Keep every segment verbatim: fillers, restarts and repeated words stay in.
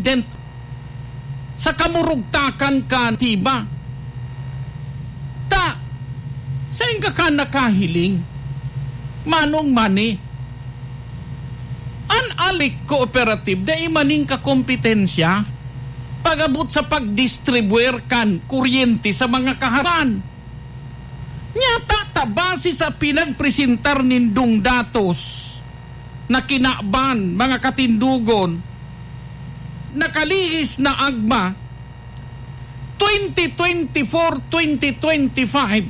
den sa kamurugtakan kan tiba. Ta, saen ka kan nakahiling, Manong Manny? An Alec Cooperative dai man nin kakompetensya pag-abot sa pagdistribuir kan kuryente sa mga kaharan. Nyata ta base sa pinagpresentar nindong datos na kinaban, mga katindogon, nakalihis na agma, twenty twenty-four, twenty twenty-five,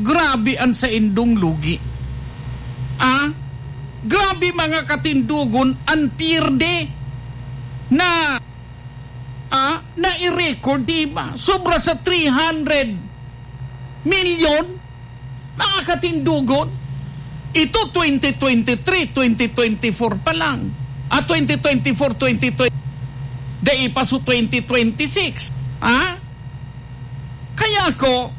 grabe an saindong lugi. Ah? Grabe, mga katindogon, an pierde na, ah, na i-record, di ba? Sobra sa three hundred milyon, mga katindogon. Ito, twenty twenty-three, twenty twenty-four pa lang. Ah, twenty twenty-four, twenty twenty, dai pa su twenty twenty-six. Ha? Kaya ako,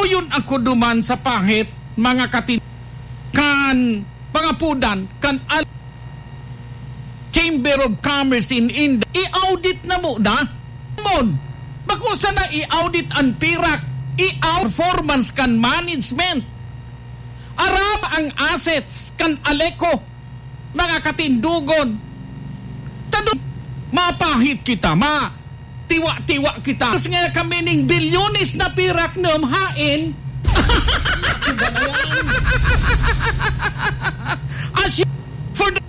uyon ako duman sa pahit, mga katin-, kan pangapudan, kan al-, Chamber of Commerce in India, i-audit na muna. Mon, bako sana i-audit an pirak, i-audit performance kan management. Aram ang assets kan Aleco, mga katindogon. Tado, mapahit kita, ma, tiwa-tiwa kita. Tapos nga kami ning bilyones na pirak nam hain. Iba na yan. As you, for the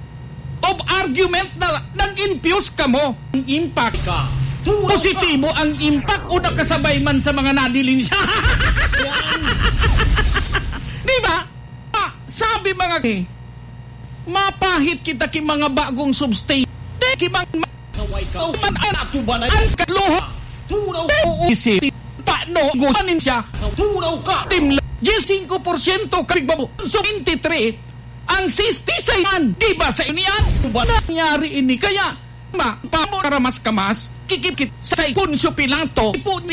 of argument na nag-infuse kamo. Ang impact. Positibo ang impact o nakasabay man sa mga nadiling siya. Yan. Di ba? Ah, sabi mga, eh, mapahit kita ki mga bagong substation. Di ki mga Saway ka. Man ang atubanay. Ang katlo. Turaw. Oo, isi. Paano gusanin siya? Turaw ka. Timla. Diyes singko porsyento ka pigbabo. So, twenty-three. Ang sixty-six man. Di ba sa inyo yan? Ba nangyari ini? Kaya, ma, pamo karamas-kamas, kikipkit sa Poncio Pilato, ipo ni